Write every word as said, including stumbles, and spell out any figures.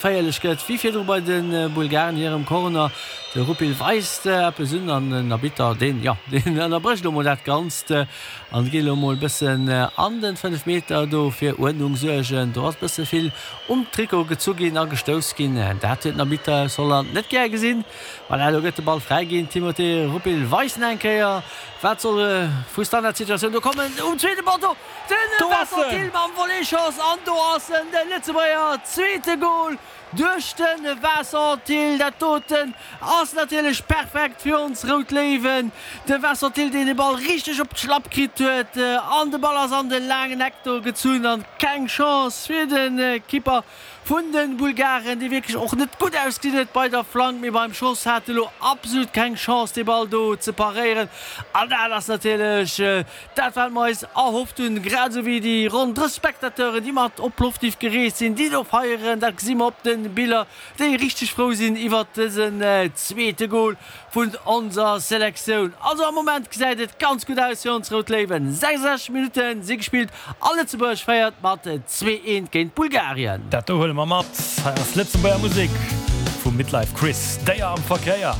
Geféierlech gëtt wéi virdru bei de Bulgaren hirem Corner. De Rupil weist eppes un an den Arbitter, deen, jo, deen ënnerbrécht elo mol dat Ganzt an geet elo mol e bëssen an den fënnef Meter do fir Uerdnung suergen. Do ass e bësse vill um Trikot gezu ginn a gestouss ginn. Dat huet den Arbitter aus Holland net gär gesinn. Voilà, elo gëtt de Ball fräi ginn. Timothé Rupil weist en eng Kéier, wat soll vu Standardsituatioun do kommen. Um zweete Poteau den Vincent Thill mam Volley-Schoss an do ass en, de Lëtzebuerger zweete Gol duerch de Vincent Thill. Dat doten ass natierlech perfekt fir ons Rout Léiwen. De Vincent Thill, deen de Ball richteg op d'Schlapp kritt huet an de Ball ass an de laangen Eck do gezunn an keng Chance fir de Kipper vun de Bulgaren, dee wierklech och net gutt ausgesinn huet bei der Flank, mee beim Schoss hat e lo absolut keng Chance, dee Ball do ze paréieren. An dat ass natierlech dat, wat mer eis erhofft hunn, grad esou wéi déi ronn drësseg Spectateuren, déi mat op Plovdiv gereest sinn, déi do feieren. Dat gesi mer op de Biller, déi richteg frou sinn iwwert dësen zweete Gol vun onser Selektioun. Also am Moment gesäit et ganz gutt aus fir ons Rout Léiwen. sechsundsechzeg Minutte si gespillt a Lëtzebuerg féiert mat zwee eent géint Bulgarien. Dat do huele mer mat. Hei ass Lëtzebuerger Musek vum Midlife Chris, Déier am Verkéier.